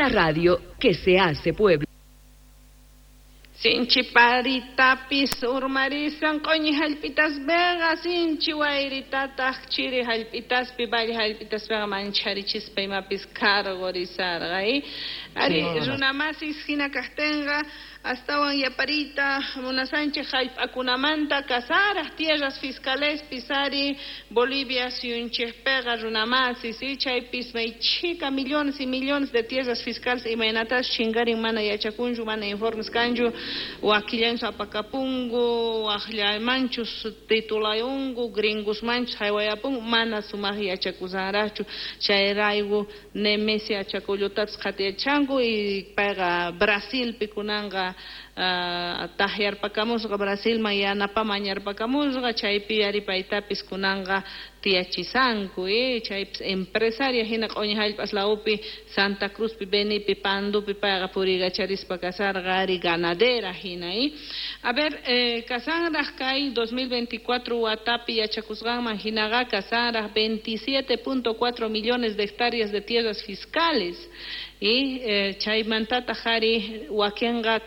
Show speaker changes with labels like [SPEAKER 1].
[SPEAKER 1] La radio que se hace pueblo.
[SPEAKER 2] Sinchi paritapis urmarisan q'uñi hallp'itaspiqa, sinchi wayritataq chiri hallp'itaspi, valle hallp'itaspiqa mancharichispa imapis karqurisarqa. Ari, runamasis, hina kaqtinqa astawan yapariyta munasanchik hallp'akunamanta. Kasaraq tierras fiscalespis ari Bolivia suyunchikpiqa, runamasis, chaypis may chhika millones y millones de tierras fiscales imaynatas chinkarin mana yachakunchu, mana informes kanchu. Wakillanchus apakapunku, waqllamanchus titulayunku, gringosmanchus haywayapunku, mana sumaq yachakusanraqchu. Chayrayku Nemesia Achacollotapis qhatiyachanku y payqa Brasilpi kunanqa takyarpakamusqa, Brasilman yanapa mañarpakamusqa. Chaypi ari paytapis kunanqa tiyachisanku. Chaypis empresaria hina q'uñi hallp'as lawpi, Santa Cruzpi, Benipi, Pandupi payqa puriykacharispa kasarqa ari ganadera hina. A ver, kasanraq kay 2024 watapi yachakusqanman hinaqa kasanraq 27.4 millones de hectáreas de tierras fiscales y chaymantataq ari wakinqa.